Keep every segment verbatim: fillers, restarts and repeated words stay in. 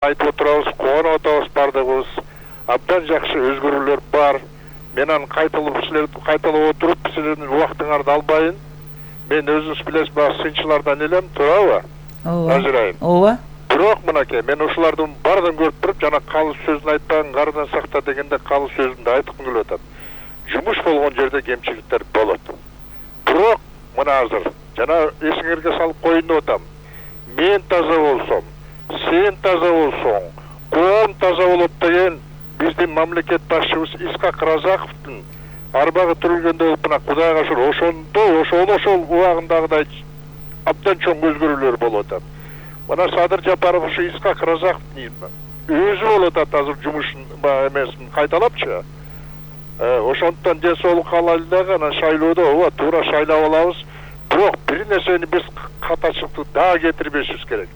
айтып отурабыз, кубанып атабыз бардыгыбыз. Абдан жакшы өзгөрүүлөр бар. Мен аны кайталап силерди кайталап отуруп, силердин убактыңарды албайын. Мен өзүңүз билесиз, баягы сынчылардан элем, туурабы? Ооба. Ажырайын. Ооба. Бирок мынакей, мен ушулардын бардын көрүп туруп, жана калыс сөзүн айтпаган кардан сакта дегенде калыс сөзүндө айткым келип атат. Жумуш болгон жерде кемчиликтер болот. Бирок мына азыр жана эсиңерге салып коеюн деп атам. Мен таза болсом, сен таза болсоң, коом таза болот деген биздин мамлекет башчыбыз Исхак Разаковдун арбагы түрүлгөндө болуп, мына Кудайга шүгүр, ошондо ошол ошол убагындагыдай абдан чоң өзгөрүүлөр болуп атат. Мына Садыр Жапаров ушу Исхак Разаковдун өзү болуп атат азыр жумушун эмесин кайталапчы. Ошондон ден соолук каалайлы дагы, анан шайлоодо ооба туура шайлап алабыз. Бирок бир нерсени биз катачылыкты дагы кетирбешибиз керек.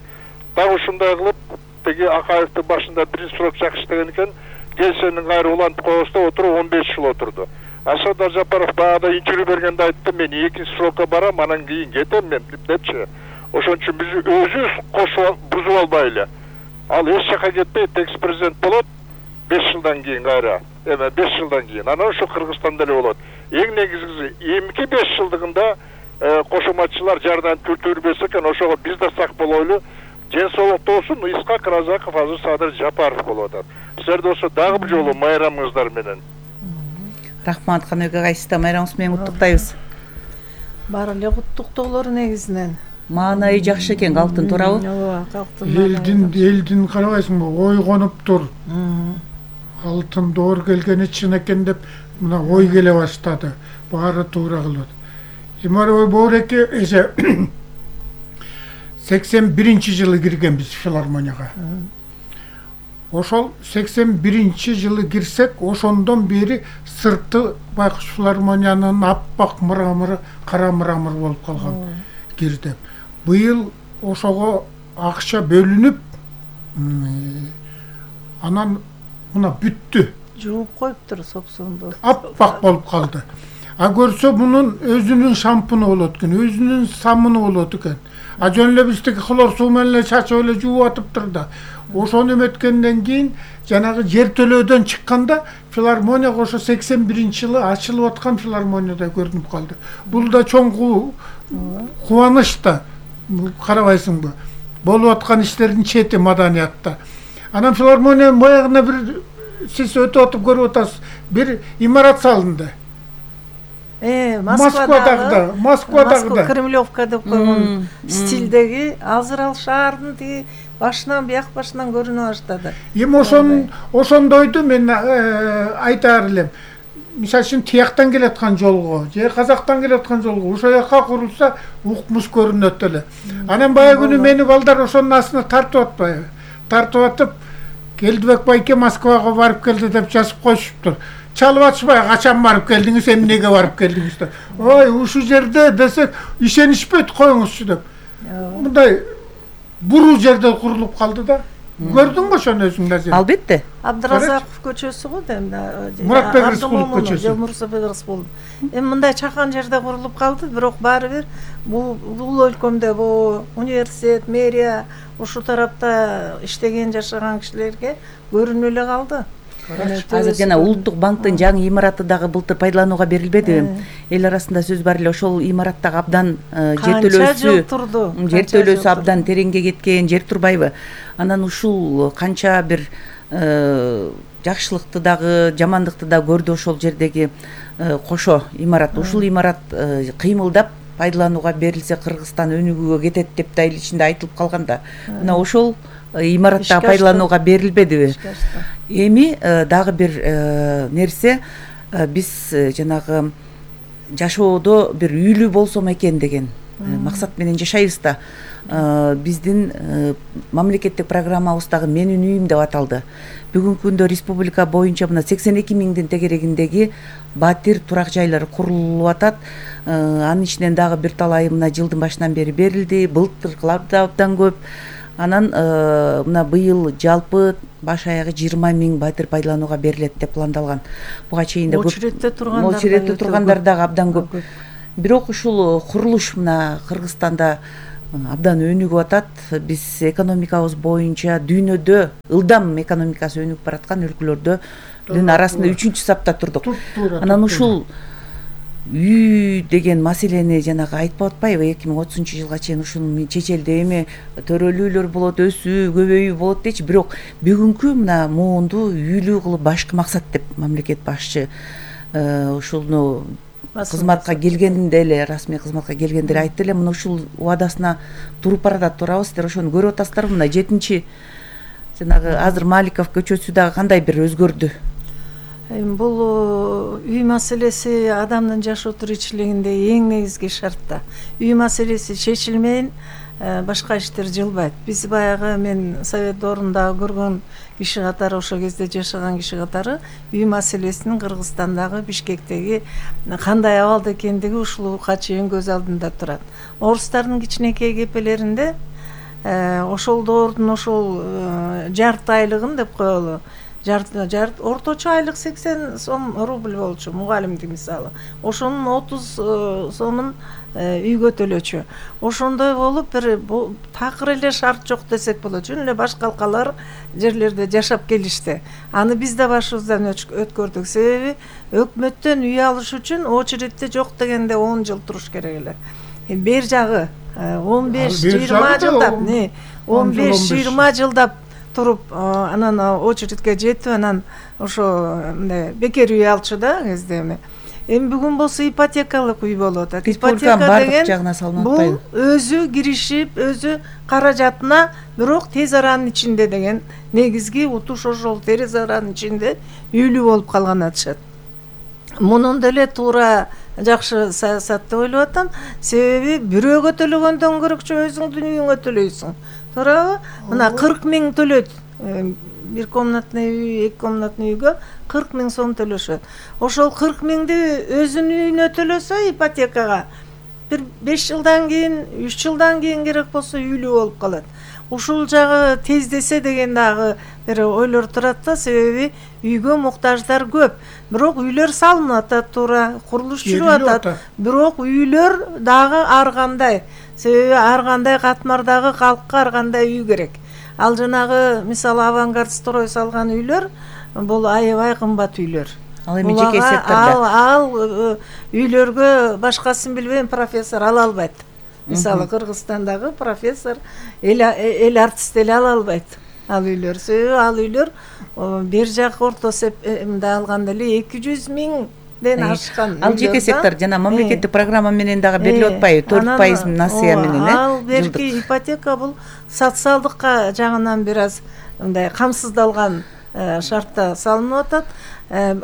Дагы ушундай кылып, теги Акаевдин башында биринчи срок жакшы иштеген экен, келсенин кайра улантып коебуз деп отуруп он беш жыл отурду. Садыр Жапаров баягыда интервью бергенде айтты, мен экинчи срокко барам, анан кийин кетем мен депчи. Ошон үчүн биз өзүбүз кошуп бузуп албайлы. Ал эч жака кетпей, экс президент болот беш жылдан кийин кайра. Эме беш жылдан кийин. Анан ушу Кыргызстанда эле болот. Эң негизгиси эмки беш жылдыгында кошоматчылар жардам көрсөтбөсө экен, ошого биз да сак болойлу. Ден соолукта болсун, Исхак Разаков азыр Садыр Жапаров болуп атат. Силер болсо дагы бир жолу майрамыңыздар менен. Рахмат, каныбек агай, сизди майрамыңыз менен куттуктайбыз. Баары эле куттуктоолор негизинен. Маанайы жакшы экен, калктын, туурабы? Ооба, калктын. Элдин элдин карабайсыңбы, ойгонуптур. Алтын доор келгени чын экен деп мына ой келе баштады. Баары туура кылат. Имаров Боореке эже сексен биринчи жылы киргенбиз филармонияга. Ошол сексен биринчи жылы кирсек, ошондон бери сырты байкуш филармониянын аппак мырамыры, кара мырамыр болуп калган кирдим. Быйыл ошого акча бөлүнүп, анан мына бүттү. Жууп коюптур сопсунду. Аппак болуп калды. А көрсө мунун өзүнүн шампуну болот экен, өзүнүн самыны болот экен. А жөн эле биздики хлор суу менен эле чачып эле жууп атыптыр да. Ошону эметкенден кийин жанагы жер төлөөдөн чыкканда филармонияга ошо сексен биринчи жылы ачылып аткан филармонияда көрүнүп калды. Бул да чоң кубаныч да, карабайсыңбы? Болуп аткан иштердин чети маданиятта. Анан филармониянын боягына бир сиз өтүп атып көрүп атасыз, бир имарат салынды. Э, Москвадагы да, Москвадагы да. Кремлевка деп койгон стилдеги азыр ал шаардын тиги башынан бияк башынан көрүнө баштады. Эми ошон ошондойду мен айтаар элем. Мисалы үчүн тияктан келаткан жолго, же Казактан келаткан жолго ошол жака курулса укмуш көрүнөт эле. Анан баягы күнү мени балдар ошонун астына тартып атпайбы? Тартып атып, Келдибек байке Москвага барып келди деп жазып коюшуптур. Чалып атышпай, качан барып келдиңиз, эмнеге барып келдиңиз деп. Ой, ушу жерде десек, ишенишпейт, коюңузчу деп. Мындай буруу жерде курулуп калды да. Көрдүңбү ошону өзүң да? Албетте. Абдыразаков көчөсү го дейм да. Муратбек Рыскулов көчөсү. Мурсабек Рыскулов. Эми мындай чакан жерде курулуп калды, бирок баары бир бул бул өлкөмдө бу университет, мэрия ушу тарапта иштеген, жашаган кишилерге көрүнүп эле калды. Азыр жана Улуттук банктын жаңы имараты дагы былтыр пайдаланууга берилбедиби? Эл арасында сөз бар эле, ошол имараттагы абдан жер төлөөсү, жер төлөөсү абдан тереңге кеткен, жер турбайбы? Анан ушул канча бир жакшылыкты дагы, жамандыкты да көрдү ошол жердеги кошо имарат. Ушул имарат кыймылдап пайдаланууга берилсе Кыргызстан өнүгүүгө кетет деп да эл ичинде айтылып калганда, мына ошол имаратта пайдаланууга берилбедиби? Эми дагы бир нерсе, биз жанагы жашоодо бир үйлүү болсом экен деген максат менен жашайбыз да. Биздин мамлекеттик программабыздагы менин үйүм деп аталды. Бүгүнкү күндө республика боюнча мына сексен эки миңдин тегерегиндеги батир турак жайлары курулуп атат. Анын ичинен дагы бир талайы мына жылдын башынан бери берилди. Былтыркылар да абдан көп. Анан мына быйыл жалпы баш аягы жыйырма миң батир пайдаланууга берилет деп пландалган. Буга чейин да көп. Очередте тургандар дагы абдан көп. Бирок ушул курулуш мына Кыргызстанда абдан өнүгүп атат. Биз экономикабыз боюнча дүйнөдө ылдам экономикасы өнүгүп бараткан өлкөлөрдөн арасында үчүнчү сапта турдук. Анан ушул үй деген маселени жанагы айтпап атпайбы, эки миң отузунчу жылга чейин ушуну чечелде эми төрөлүү үйлөр болот, өсүү, көбөйүү болот дейчи. Бирок бүгүнкү мына моонду үйлүү кылып башкы максат деп мамлекет башчы ушуну кызматка келгенде эле, расмий кызматка келгенде эле айтты эле. Мына ушул убадасына туруп баратат, турабы? Сиздер ошону көрүп атасыздарбы? Мына жетинчи жанагы азыр Маликов көчөсү дагы кандай бир өзгөрдү? Бул үй маселеси адамдын жашоо тиричилигинде эң негизги шарт да. Үй маселеси чечилмейин башка иштер жылбайт. Биз баягы мен совет доорунда көргөн киши катары, ошол кезде жашаган киши катары үй маселесинин Кыргызстандагы Бишкектеги кандай абалда экендиги ушулга чейин көз алдында турат. Орустардын кичинекей кепелеринде ошол доордун ошол жарты айлыгын деп коелу, жарт орточо айлык сексен сом рубль болчу, мугалимдик мисалы. Ошонун отуз сомун үйгө төлөчү. Ошондой болуп бир такыр эле шарт жок десек болот. Жөн эле башка алкалар жерлерде жашап келишти. Аны биз да башыбыздан өткөрдүк. Себеби өкмөттөн үй алыш үчүн очередте жок дегенде он жыл туруш керек эле. Бер жагы он беш жыйырма жылдап, не, он беш жыйырма жылдап туруп, анан очередке жетип, анан ошо бекер үй алчу да кезде эми. Эми бүгүн болсо ипотекалык үй болуп атат. Ипотека деген бул өзү киришип, өзү каражатына, бирок тез аранын ичинде деген негизги утуш ошол тез аранын ичинде үйлүү болуп калган атышат. Мунун деле туура жакшы саясат деп ойлоп атам. Себеби бирөөгө төлөгөндөн көрөкчө өзүңдүн үйүңө төлөйсүң. Туурабы? Мына кырк миң төлөйт. Бир комнатный үй, эки комнатный үйгө кырк миң сом төлөшөт. Ошол кырк миңди өзүнүн үйүнө төлөсө ипотекага бир беш жылдан кийин, үч жылдан кийин керек болсо үйлүү болуп калат. Ушул жагы тездесе деген дагы бир ойлор турат да, себеби үйгө муктаждар көп. Бирок үйлөр салынып атат, туура, курулуш жүрүп атат. Бирок үйлөр дагы ар кандай. Себеби ар кандай катмардагы калкка ар кандай үй керек. Ал жанагы мисалы авангард строй салган үйлөр бул аябай кымбат үйлөр. Ал эми жеке сектордо. Ал ал үйлөргө башкасын билбейм, профессор ала албайт. Мисалы Кыргызстандагы профессор эл эл артист эле ала албайт ал үйлөр. Себеби ал үйлөр бер жак орто эсепте алганда эле эки жүз миңден ашкан. Ал жеке сектор жана мамлекеттик программа менен дагы берилип атпайбы? төрт пайыз насыя менен, э? Ал берки ипотека бул социалдыкка жагынан бир аз мындай камсыздалган шартта салынып атат.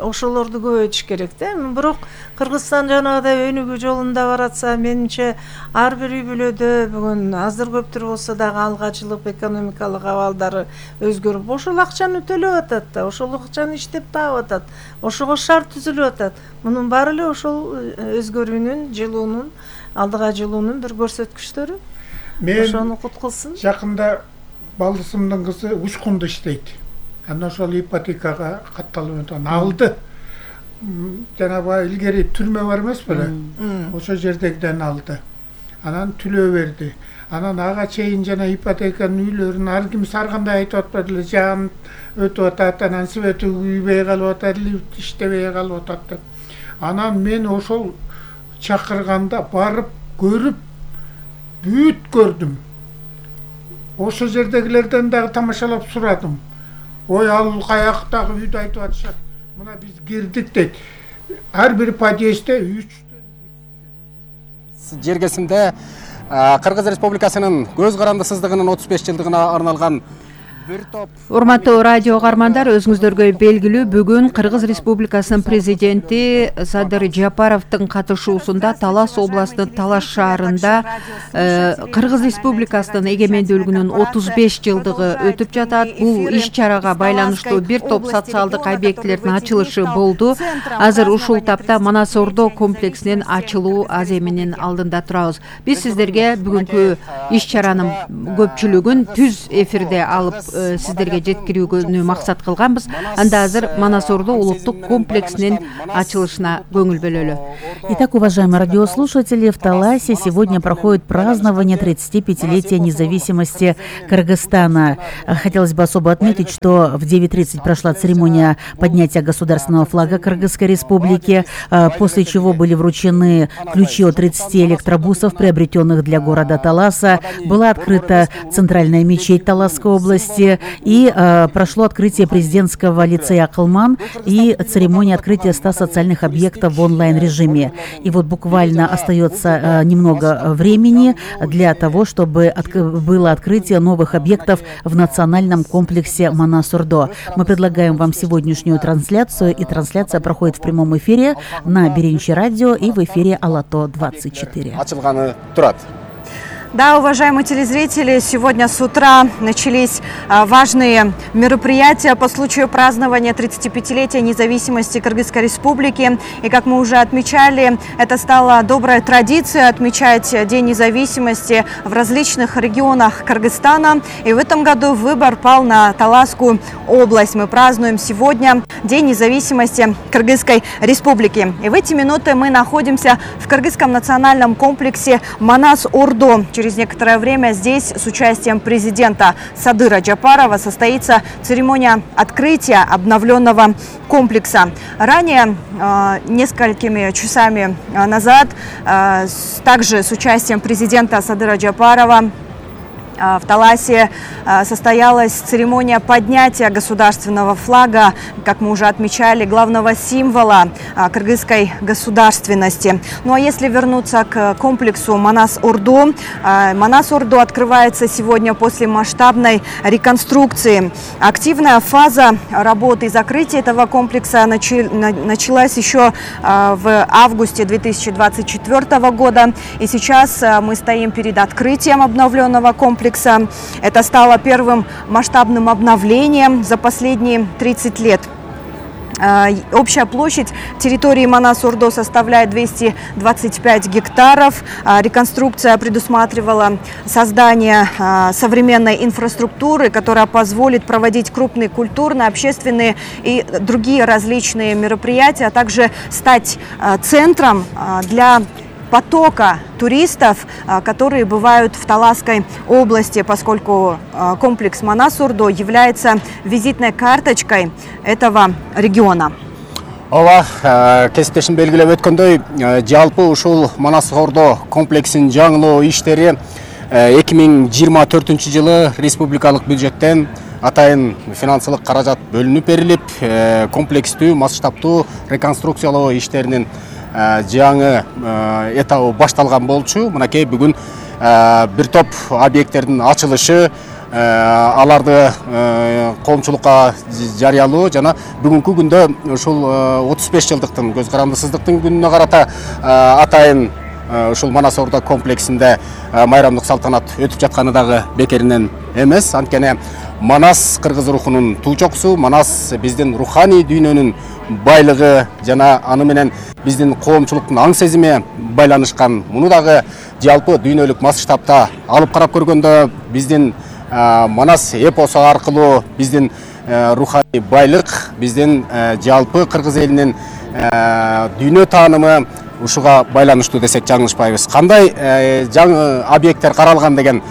Ошолорду көбөйтүш керек да. Бирок Кыргызстан жанагыдай өнүгүү жолунда баратса, менимче ар бир үй бүлөдө бүгүн аздыр көптүр болсо дагы алгачылык экономикалык абалдары өзгөрүп, ошол акчаны төлөп атат да, ошол акчаны иштеп таап атат, ошого шарт түзүлүп атат. Мунун баары эле ошол өзгөрүүнүн, жылуунун, алдыга жылуунун бир көрсөткүчтөрү. Ошону кут кылсын. Жакында балдысымдын кызы Учкунда иштейт. Анан ошол ипотекага катталып атат. Алды. Жанагы илгери түрмө бар эмес беле? Ошол жердегиден алды. Анан төлөө берди. Анан ага чейин жана ипотеканын үйлөрүн ар ким ар кандай айтып атпады эле, жан өтүп атат, анан свети күйбөй калып атат, лифт иштебей калып атат деп. Анан мен ошол чакырганда барып көрүп бүт көрдүм. Ошол жердегилерден дагы тамашалап сурадым. Ой, ал каяктагы үйдү айтып атышат. Мына биз кирдик дейт. Ар бир подъездде үчтөн жергесинде Кыргыз Республикасынын көз карандысыздыгынын отуз беш жылдыгына арналган бир топ. Урматтуу радио каармандар, өзүңүздөргө белгилүү, бүгүн Кыргыз Республикасынын президенти Садыр Жапаровдун катышуусунда Талас областынын Талаш шаарында Кыргыз Республикасынын эгемендүүлүгүнүн отуз беш жылдыгы өтүп жатат. Бул иш-чарага байланыштуу бир топ социалдык объектилердин ачылышы болду. Азыр ушул тапта Манас Ордо комплексинин ачылуу аземинин алдында турабыз. Биз сиздерге бүгүнкү иш-чаранын көпчүлүгүн түз эфирде алып сиздерге жеткирүүгө максат кылганбыз. Анда азыр Манас Ордо улуттук комплексинин ачылышына көңүл бөлөлү. Итак, уважаемые радиослушатели, в Таласе сегодня проходит празднование тридцатипятилетия независимости Кыргызстана. Хотелось бы особо отметить, что в девять тридцать прошла церемония поднятия государственного флага Кыргызской республики, после чего были вручены ключи от тридцати электробусов, приобретенных для города Таласа. Была открыта центральная мечеть Таласской области и э, прошло открытие президентского лицея Акылман и церемония открытия ста социальных объектов в онлайн-режиме. И вот буквально остается э, немного времени для того, чтобы от, было открытие новых объектов в национальном комплексе Манас Ордо. Мы предлагаем вам сегодняшнюю трансляцию, и трансляция проходит в прямом эфире на Беренчи радио и в эфире Алато двадцать четыре. Да, уважаемые телезрители, сегодня с утра начались а, важные мероприятия по случаю празднования тридцатипятилетия независимости Кыргызской республики. И как мы уже отмечали, это стало доброй традицией отмечать День независимости в различных регионах Кыргызстана. И в этом году выбор пал на Таласскую область. Мы празднуем сегодня День независимости Кыргызской республики. И в эти минуты мы находимся в Кыргызском национальном комплексе Манас Ордо. Через некоторое время здесь с участием президента Садыра Джапарова состоится церемония открытия обновленного комплекса. Ранее, э, несколькими часами назад, э, также с участием президента Садыра Джапарова в Таласе состоялась церемония поднятия государственного флага, как мы уже отмечали, главного символа кыргызской государственности. Ну а если вернуться к комплексу Манас Ордо, Манас Ордо открывается сегодня после масштабной реконструкции. Активная фаза работы и закрытия этого комплекса началась еще в августе две тысячи двадцать четвёртого года. И сейчас мы стоим перед открытием обновленного комплекса. Это стало первым масштабным обновлением за последние тридцать лет. Общая площадь территории Манас Ордо составляет двести двадцать пять гектаров. Реконструкция предусматривала создание современной инфраструктуры, которая позволит проводить крупные культурные, общественные и другие различные мероприятия, а также стать центром для потока туристов, которые бывают в Таласской области, поскольку комплекс Манас Ордо является визитной карточкой этого региона. Ооба, кесиптешим белгилеп өткөндөй, жалпы ушул Манас Ордо комплексин жаңылоо иштери эки миң жыйырма төртүнчү жылы республикалык бюджеттен атайын финансылык каражат бөлүнүп берилип, комплекстүү, масштабтуу реконструкциялоо иштеринин жаңы этабы башталган болчу. Мынакей бүгүн бир топ объекттердин ачылышы, аларды коомчулукка жарыялоо жана бүгүнкү күндө ушул отуз беш жылдыктын көз карандысыздыктын күнүнө карата атайын ушул Манас Ордо комплексинде майрамдык салтанат өтүп жатканы дагы бекеринен эмес. Анткени Манас кыргыз рухунун туучоксу, Манас биздин руханий дүйнөнүн байлыгы жана аны менен биздин коомчулуктун аң сезими байланышкан. Муну дагы жалпы дүйнөлүк масштабта алып карап көргөндө биздин Манас эпосу аркылуу биздин руханий байлык, биздин жалпы кыргыз элинин дүйнө таанымы ушуга байланыштуу десек жаңылышпайбыз. Кандай жаңы объекттер каралган деген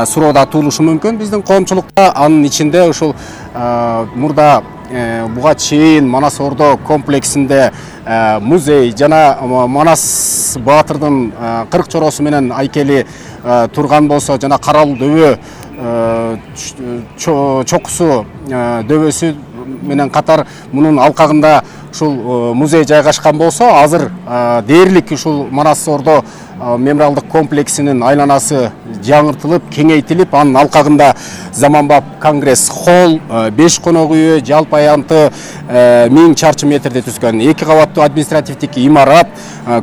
суроо да туулушу мүмкүн биздин коомчулукта. Анын ичинде ушул мурда буга чейин Манас Ордо комплексинде музей жана Манас баатырдын кырк чороосу менен айкели турган болсо, жана Карал дөбө чокусу дөбөсү менен катар мунун алкагында ушул музей жайгашкан болсо, азыр дээрлик ушул Манас Ордо мемориалдык комплексинин айланасы жаңыртылып, кеңейтилип, анын алкагында заманбап конгресс холл, беш конок үйү, жалпы аянты миң чарчы метрде түзгөн эки кабаттуу административдик имарат,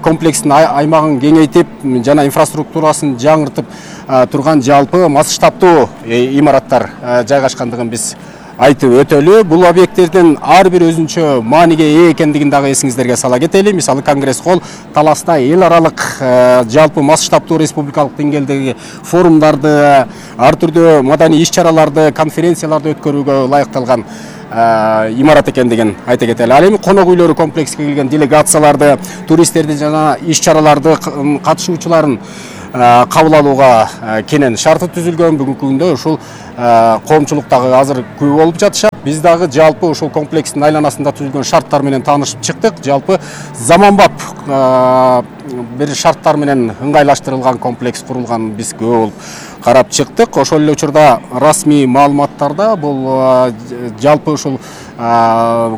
комплекстин аймагын кеңейтип жана инфраструктурасын жаңыртып турган жалпы масштабтуу имараттар жайгашкандыгын биз айтып өтөлү. Бул объекттердин ар бир өзүнчө мааниге ээ экендигин дагы эсиңиздерге сала кетели. Мисалы Конгресс холл таласта эл аралык жалпы масштабтуу республикалык деңгээлдеги форумдарды, ар түрдүү маданий иш-чараларды, конференцияларды өткөрүүгө ылайыкталган имарат экендигин айта кетели. Ал эми конок үйлөрү комплекске келген делегацияларды, туристтерди жана иш-чараларды катышуучуларын кабыл алууга кенен шарты түзүлгөн. Бүгүнкү күндө ушул коомчулук дагы азыр көп болуп жатышат. Биз дагы жалпы ушул комплекстин айланасында түзүлгөн шарттар менен таанышып чыктык. Жалпы заманбап бир шарттар менен ыңгайлаштырылган комплекс курулганын биз көп болуп карап чыктык. Ошол эле учурда расмий маалыматтарда бул жалпы ушул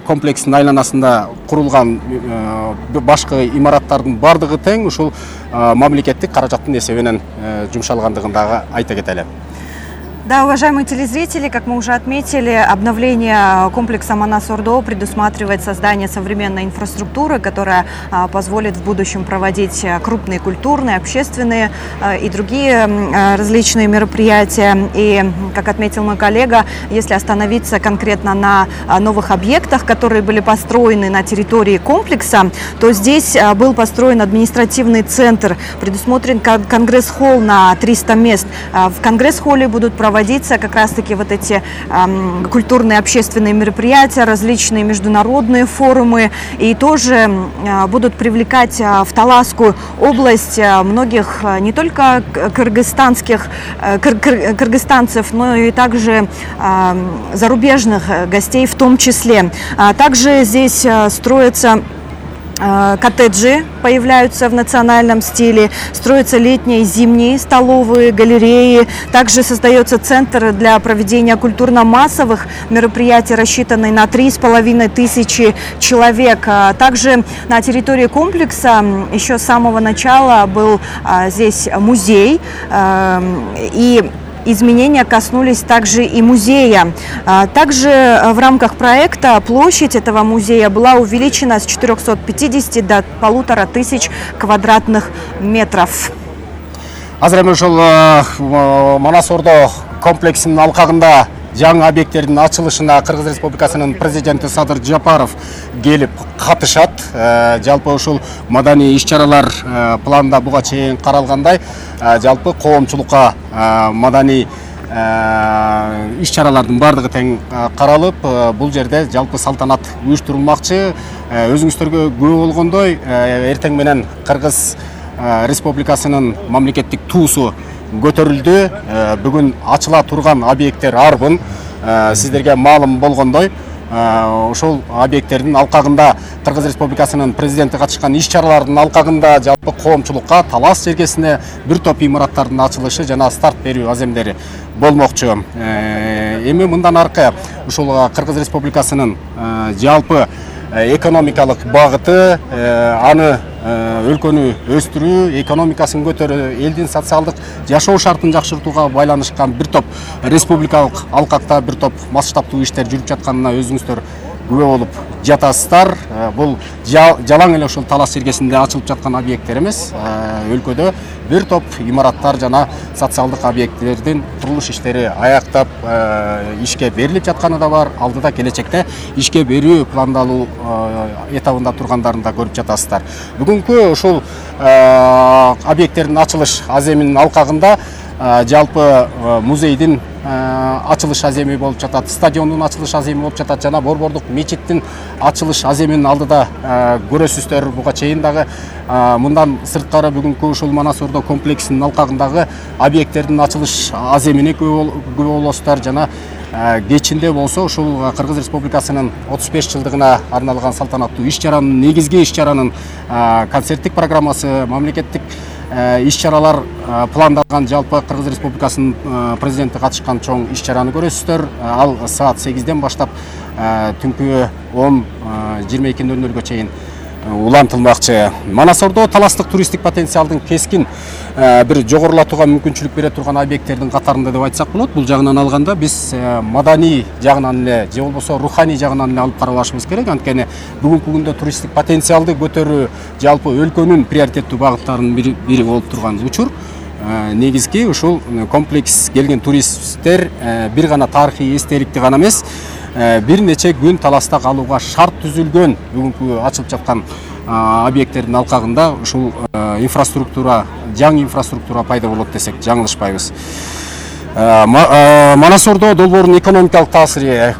комплекстин айланасында курулган башкы имараттардын бардыгы тең ушул мамлекеттик каражаттын эсебинен жумшалгандыгын дагы айта кетели. Да, уважаемые телезрители, как мы уже отметили, обновление комплекса Манас-Ордо предусматривает создание современной инфраструктуры, которая а, позволит в будущем проводить крупные культурные, общественные а, и другие а, различные мероприятия. И, как отметил мой коллега, если остановиться конкретно на а, новых объектах, которые были построены на территории комплекса, то здесь а, был построен административный центр, предусмотрен конгресс-холл на триста мест. А, в конгресс-холле будут проводить проводиться как раз-таки вот эти э, культурные общественные мероприятия, различные международные форумы, и тоже э, будут привлекать э, в Таласскую область э, многих э, не только кыргызстанских э, кыр кыр кыргызстанцев, но и также э, зарубежных гостей в том числе. А также здесь э, строятся коттеджи, появляются в национальном стиле, строятся летние и зимние столовые, галереи. Также создается центр для проведения культурно-массовых мероприятий, рассчитанный на три с половиной тысячи человек. Также на территории комплекса еще с самого начала был здесь музей, и изменения коснулись также и музея. Также в рамках проекта площадь этого музея была увеличена с четырёхсот пятидесяти до полутора тысяч квадратных метров. Азыр эми ушул Манас-Ордо комплексинин алкагында жаңы объекттердин ачылышына Кыргыз Республикасынын президенти Садыр Жапаров келип катышат. Жалпы ушул маданий иш-чаралар планда буга чейин каралгандай, жалпы коомчулукка маданий иш-чаралардын бардыгы тең каралып, бул жерде жалпы салтанат уюштурулмакчы. Өзүңүздөргө күбө болгондой, эртең менен Кыргыз Республикасынын мамлекеттик туусу көтөрүлдү. Бүгүн ачыла турган объекттер арбын. Сиздерге маалым болгондой, ошол объекттердин алкагында Кыргыз Республикасынын президенти катышкан иш-чаралардын алкагында жалпы коомчулукка Талас жергесине бир топ имараттардын ачылышы жана старт берүү аземдери болмокчу. Эми мындан аркы ушул Кыргыз Республикасынын жалпы экономикалык багыты, аны өлкөнү өстүрүү, экономикасын көтөрүү, элдин социалдык жашоо шартын жакшыртууга байланышкан бир топ республикалык алкакта бир топ масштабтуу иштер жүрүп жатканына өзүңүздөр күбө болуп жатасыздар. Бул жалаң эле ушул Талас жергесинде ачылып жаткан объекттер эмес, өлкөдө бир топ имараттар жана социалдык объекттердин курулуш иштери аяктап ишке берилип жатканы да бар. Алдыда келечекте ишке берүү пландалуу этабында тургандарын да көрүп жатасыздар. Бүгүнкү ушул объекттердин ачылыш аземинин алкагында жалпы музейдин ачылыш аземи болуп жатат, стадиондун ачылыш аземи болуп жатат жана Борбордук мечиттин ачылыш аземинин алдыда көрөсүздөр. Буга чейин дагы мындан сырткары бүгүнкү ушул Манас-Ордо комплексинин алкагындагы объекттердин ачылыш аземине күбө болосуздар жана кечинде болсо ушул Кыргыз Республикасынын отуз беш жылдыгына арналган салтанаттуу иш-чаранын, негизги иш-чаранын концерттик программасы, мамлекеттик иш-чаралар пландалган, жалпы Кыргыз Республикасынын президенти катышкан чоң иш-чараны көрөсүздөр. Ал саат сегизден баштап түнкү он жыйырма эки нөл нөлгө чейин улантылмакчы. Манас-Ордо таластык туристтик потенциалдын кескин бир жогорулатууга мүмкүнчүлүк бере турган объекттердин катарында деп айтсак болот. Бул жагынан алганда биз маданий жагынан эле же болбосо руханий жагынан эле алып карабашыбыз керек. Анткени бүгүнкү күндө туристтик потенциалды көтөрүү жалпы өлкөнүн приоритеттүү багыттарынын бири болуп турган учур. Негизги ушул комплекс келген туристтер бир гана тарыхый эстеликти гана эмес, бир нече күн таласта калууга шарт түзүлгөн бүгүнкү ачылып жаткан объекттердин алкагында ушул инфраструктура, жаңы инфраструктура пайда болот десек жаңылышпайбыз. Манас Ордо долбоордун экономикалык таасири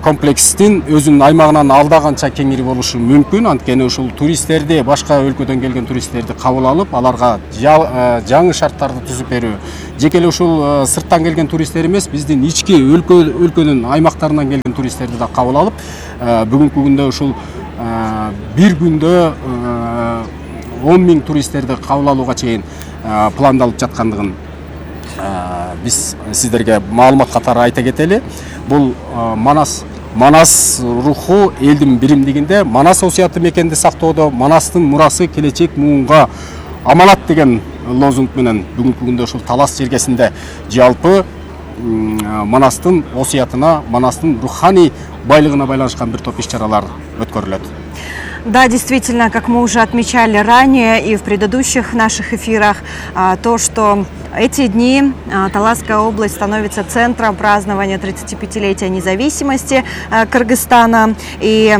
комплекстин өзүнүн аймагынан алда канча кеңири болушу мүмкүн. Анткени ушул туристтерди, башка өлкөдөн келген туристтерди кабыл алып, аларга жаңы шарттарды түзүп берүү. Жеке эле ушул сырттан келген туристтер эмес, биздин ички өлкөнүн аймактарынан келген туристтерди да кабыл алып, бүгүнкү күндө ушул бир күндө он миң туристтерди кабыл алууга чейин пландалып жаткандыгын биз сиздерге маалымат катары айта кетели. Бул Манас Манас руху элдин биримдигинде, Манас осуяты мекенди сактоодо, Манастын мурасы келечек муунга аманат деген лозунг менен бүгүнкү күндө ушул Талас жергесинде жалпы Манастын осуятына, Манастын руханий байлыгына байланышкан бир топ иш-чаралар өткөрүлөт. Да, действительно, как мы уже отмечали ранее и в предыдущих наших эфирах, то, что эти дни Таласская область становится центром празднования тридцатипятилетия независимости Кыргызстана. И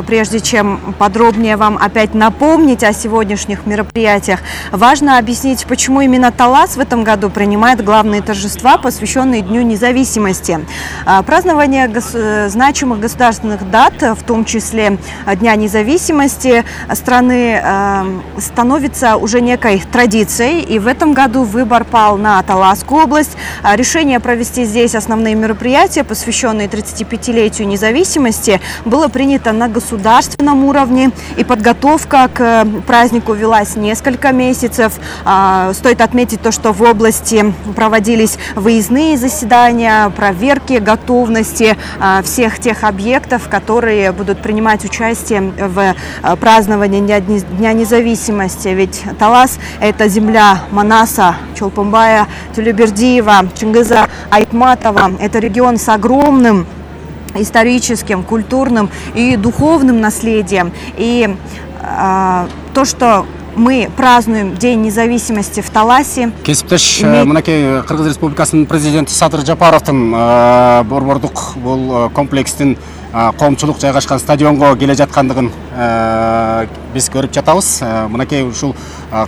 прежде чем подробнее вам опять напомнить о сегодняшних мероприятиях, важно объяснить, почему именно Талас в этом году принимает главные торжества, посвященные Дню независимости. Празднование гос- значимых государственных дат, в том числе Дня независимости, страны э, становится уже некой традицией, и в этом году выбор пал на Таласскую область. Решение провести здесь основные мероприятия, посвященные тридцатипятилетию независимости, было принято на государственном уровне, и подготовка к празднику велась несколько месяцев. Стоит отметить то, что в области проводились выездные заседания, проверки готовности всех тех объектов, которые будут принимать участие в праздновании Дня независимости. Ведь Талас – это земля Манаса, Чолпонбая, Тюлебердиева, Чингиза Айтматова. Это регион с огромным историческим, культурным и духовным наследием. И э, то, что мы празднуем День независимости в Таласе. Кесиптеш, мынакей Кыргыз Республикасынын президенти Садыр Жапаровдун борбордук бул комплекстин коомчулук жайгашкан стадионго келе жаткандыгын биз көрүп жатабыз. Мынакей ушул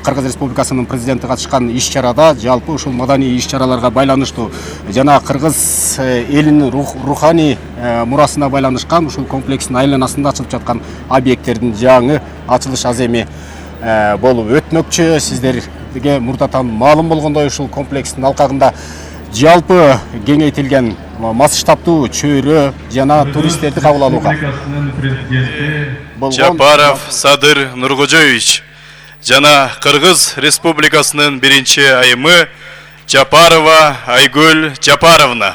Кыргыз Республикасынын президенти катышкан иш-чарада жалпы ушул маданий иш-чараларга байланыштуу жана кыргыз элинин руханий мурасына байланышкан ушул комплекстин айланасында ачылып жаткан объекттердин жаңы ачылыш аземи болуп өтмөкчү. Сиздерге мурдатан маалым болгондой ушул комплекстин алкагында жалпы кеңейтилген масштабтуу чөйрө жана туристтерди кабыл алууга Жапаров Садыр Нуркожоевич жана Кыргыз Республикасынын биринчи айымы Жапарова Айгүл Жапаровна